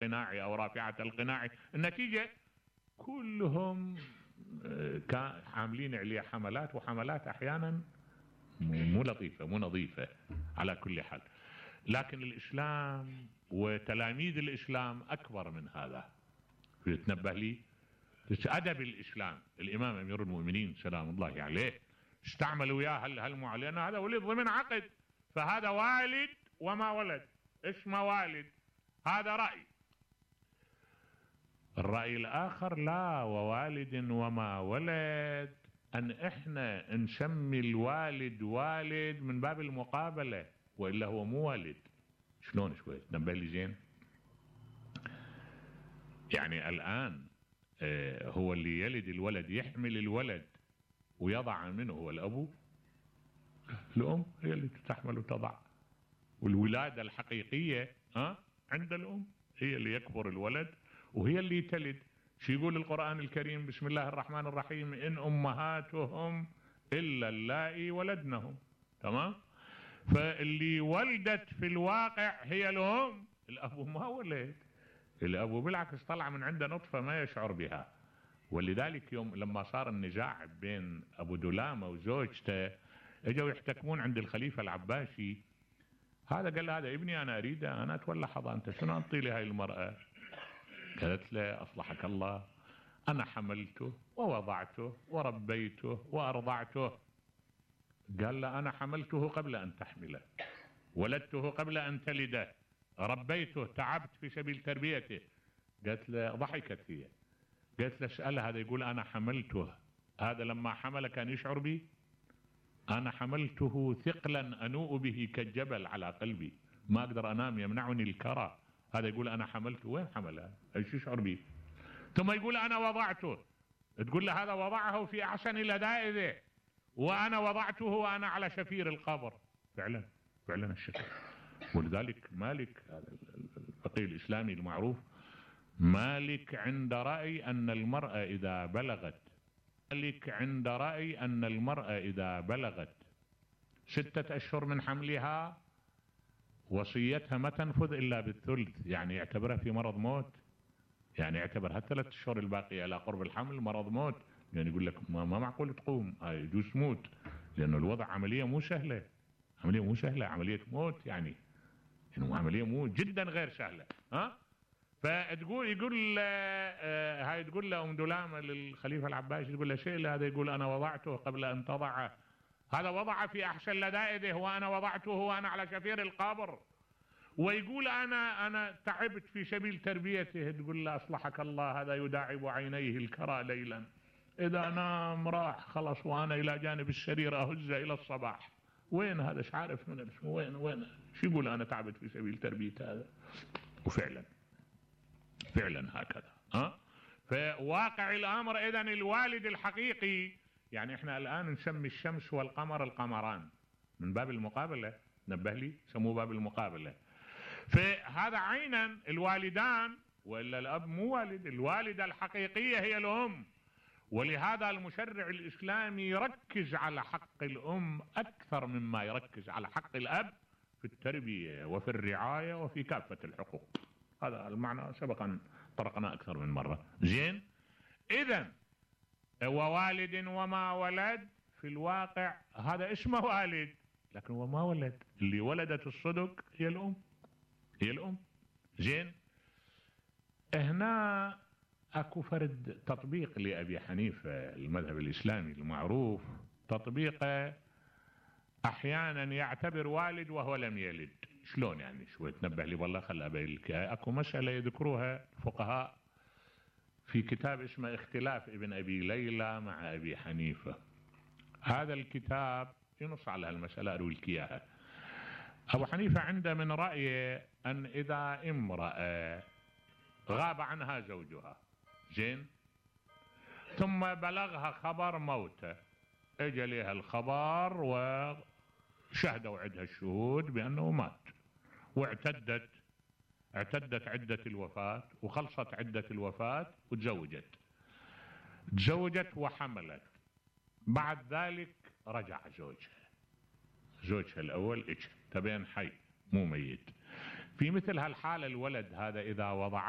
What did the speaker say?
القناع أو رافعة القناع. النتيجة كلهم عاملين عليه حملات، وحملات أحيانا مو لطيفة مو نظيفة على كل حال. لكن الإسلام وتلاميذ الإسلام أكبر من هذا. تنبه لي أدب الإسلام. الإمام أمير المؤمنين سلام الله عليه استعمل وياه هالمعلنة، هذا ولد ضمن عقد، فهذا والد وما ولد. اسمه والد، هذا رأي. الرأي الآخر لا، ووالد وما ولد، أن إحنا نسمي الوالد والد من باب المقابلة، وإلا هو مو والد. شلون شوي تنبه لي زين؟ يعني الآن هو اللي يلد الولد يحمل الولد ويضع منه هو الأب، الأم هي اللي تحمل وتضع. والولادة الحقيقية عند الأم، هي اللي يكبر الولد وهي اللي تلد. شو يقول القرآن الكريم؟ بسم الله الرحمن الرحيم: إن أمهاتهم إلا اللائي ولدنهم. تمام؟ فاللي ولدت في الواقع هي الأم، الأب ما ولد. الأب بالعكس طلع من عنده نطفة ما يشعر بها. ولذلك يوم لما صار النزاع بين أبو دلامة وزوجته، اجوا يحتكمون عند الخليفة العباسي. هذا قال له: هذا ابني أنا أريده، أنا أتولى حضانته، شنو أعطي لهاي المرأة؟ قالت له: أصلحك الله، أنا حملته ووضعته وربيته وأرضعته. قال له: أنا حملته قبل أن تحمله، ولدته قبل أن تلده، ربيته، تعبت في سبيل تربيته. قالت له، ضحكت هي، قالت له: اسأله، هذا يقول أنا حملته، هذا لما حمل كان يشعر بي؟ أنا حملته ثقلا أنوء به كالجبل على قلبي، ما أقدر أنام، يمنعني الكرى. هذا يقول أنا حملته، وين حمله؟ ايش يشعر به؟ ثم يقول أنا وضعته، تقول له هذا وضعه في أحسن لذائذه، وأنا وضعته وأنا على شفير القبر. فعلا فعلا الشكل. ولذلك مالك الفقيه الإسلامي المعروف، مالك عند رأي أن المرأة إذا بلغت، مالك عند رأي أن المرأة إذا بلغت 6 أشهر من حملها وصيتها ما تنفذ إلا بالثلث، يعني يعتبرها في مرض موت، يعني يعتبرها 3 أشهر الباقية على قرب الحمل مرض موت. يعني يقول لك ما معقول تقوم، يجوز تموت، لأنه الوضع عملية مو سهلة، عملية مو سهلة، عملية موت، يعني عملية مو جدا غير سهلة. فتقول يقول هاي تقول له أم دلامة للخليفة العباسي، تقول له شيء، هذا يقول أنا وضعته قبل أن تضعه، هذا وضع في أحسن لذائذه وأنا وضعته وأنا على شفير القبر، ويقول أنا تعبت في سبيل تربيته. تقول له أصلحك الله، هذا يداعب عينيه الكرى ليلا، إذا نام راح خلص، وأنا إلى جانب السرير أهز إلى الصباح. وين هذا؟ مش عارف من اسمه، وين شو يقول أنا تعبت في سبيل تربية هذا. وفعلا فعلا هكذا. فواقع الأمر إذن الوالد الحقيقي، يعني احنا الآن نسمي الشمس والقمر القمران من باب المقابلة، نبه لي سموه باب المقابلة. فهذا عينا الوالدان، وإلا الأب مو والد، الوالدة الحقيقية هي الأم. ولهذا المشرع الإسلامي يركز على حق الأم أكثر مما يركز على حق الأب في التربية وفي الرعاية وفي كافة الحقوق. هذا المعنى سبق أن طرقنا أكثر من مرة. زين، إذن ووالد وما ولد، في الواقع هذا اسمه والد، لكن هو ما ولد. اللي ولدت الصدق هي الأم، هي الأم. زين، هنا اكو فرد تطبيق لأبي حنيفة المذهب الإسلامي المعروف، تطبيقه أحيانا يعتبر والد وهو لم يلد. شلون يعني؟ شوي تنبه لي والله، خل أبين لك. اكو مسألة يذكروها الفقهاء في كتاب اسمه اختلاف ابن أبي ليلى مع أبي حنيفة. هذا الكتاب ينص على هالمسألة، أروي لك إياها. أبو حنيفة عنده من رأيه أن إذا امرأة غاب عنها زوجها، زين، ثم بلغها خبر موته، اجى لها الخبر وشهدوا عندها الشهود بأنه مات، واعتدت عدة الوفاة، وخلصت عدة الوفاة، وتزوجت وحملت. بعد ذلك رجع زوجها الأول اجى، تبين حي مو ميت. في مثل هالحالة الولد هذا إذا وضعته